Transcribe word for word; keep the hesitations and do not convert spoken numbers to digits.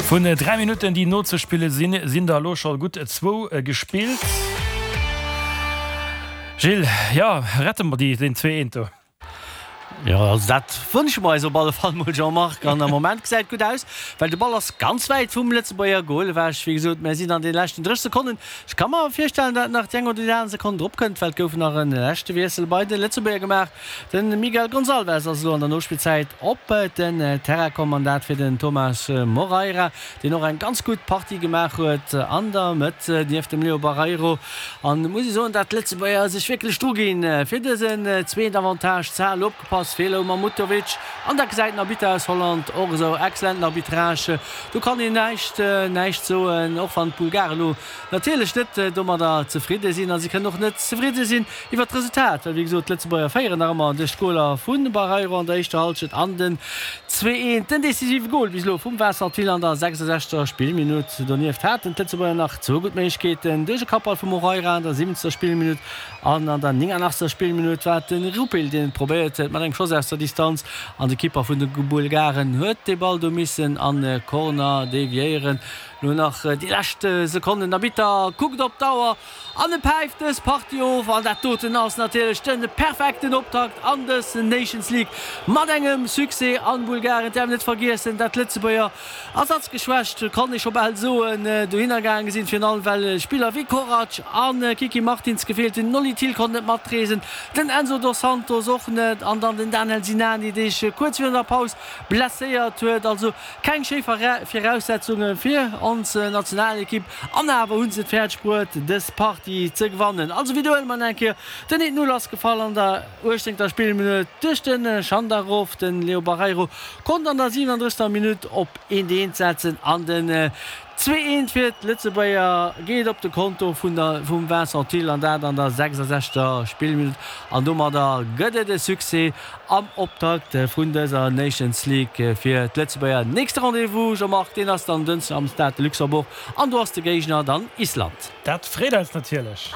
Vun dräi Minutten, déi nozespille sinn, sinn der elo scho gutt zwou gespillt. Gilles, jo, rette mer déi, den zwee eent do? Jo, also dat wënsche mer eis op alle Fall mol, Jean-Marc. An am Moment gesäit et gutt aus, well de Ball ass ganz wäit vum Lëtzebuerger Goal ewech. Wéi gesot, mer sinn an de leschten dréisseg Sekonnen. Ech ka mer virstellen, dat nach déi eng oder déi aner Sekonn drop kënnt, well et gouf nach e leschte Wiessel bei de Lëtzebuerger gemaach. De Miguel Gonçalves ass elo an der Nospillzäit op den Terrain komm an dat fir den Thomas Moreira, deen och eng ganz gutt Partie gemaach huet an der Mëtt nieft dem Leo Barreiro. An et muss ee soen, dat d'Lëtzebuerger sech wierklech dru ginn, fir dësen zweeten Avantage ze halen. Opgepasst, Feeler um Mahmutovic an dat gesäit den Arbitter aus Holland och esou. Excellenten Arbitrage, do kann een näischt näischt soen, och wann d'Bulgaren elo natierlech net domadder zefridde sinn a si kënnen och net zefridde sinn iwwert d'Resultat, well wéi gesot d'Lëtzebuerger féieren nach ëmmer duerch d'Goler vu Barreiro an der éischter Hallschent an den zwee eent, den decisive Gol bis elo vum Vincent Thill an der sechsundsechzegster Spillminutt. Donieft haten d'Lëtzebuerger nach zwou gutt Méiglechkeeten duerch e Kappball vum Moreira an der siwwenzegster Spillminutt an an der nénganachtzeger Spillminutt war et de Rupil, deen et probéiert huet mat engem Schoss aus der Distanz an de Kipper vun de Bulgaren huet de Ball do missen an e Corner deviéieren. Lo nach déi lescht Sekonnen, den Arbitter kuckt op d'Auer an e päift dës Partie of. An dat doten ass natierlech de perfekten Optakt an dës Nations League mat engem Succès an Bulgarien. Et däerf een net vergiessen, dat d'Lëtzebuerger ersatzgeschwächt, kann ee scho bal soen, dohinner gaange sinn, virun allem well Spiller wéi Korac a Kiki Martins gefeelt hunn. Den Nolly Thill konnt net matreesen, den Enzo Dos Santos och net an dann den Daniel Sinani, dee sech kuerz virun der Paus blesséiert huet. Also keng schéi Viraussetzunge fir ons Nationalekipp an awer hu se et fäerdeg bruet, dës Partie ze gewannen. Also widderhuele mer nach eng Kéier, Den eent Null ass gefall an der uechtzéngter Spillminutt duerch de Schandarov. Den Leo Barreiro konnt an der siwenunddrëssegster Minutt op eent eent setzen an den zwee eent fir d'Lëtzebuerger geet op de Konto vun der vum Vincent Thill an dat an der sechsundsechzegster Spillminutt an domadder gëtt et e Succès am Optakt vun dëser Nations League fir d'Lëtzebuerger. Nächste Rendez-vous, Jean-Marc, deen ass dann Dënschden am Stade de Luxembourg an do ass de Géigner dann Island. Dat freet eis natierlech.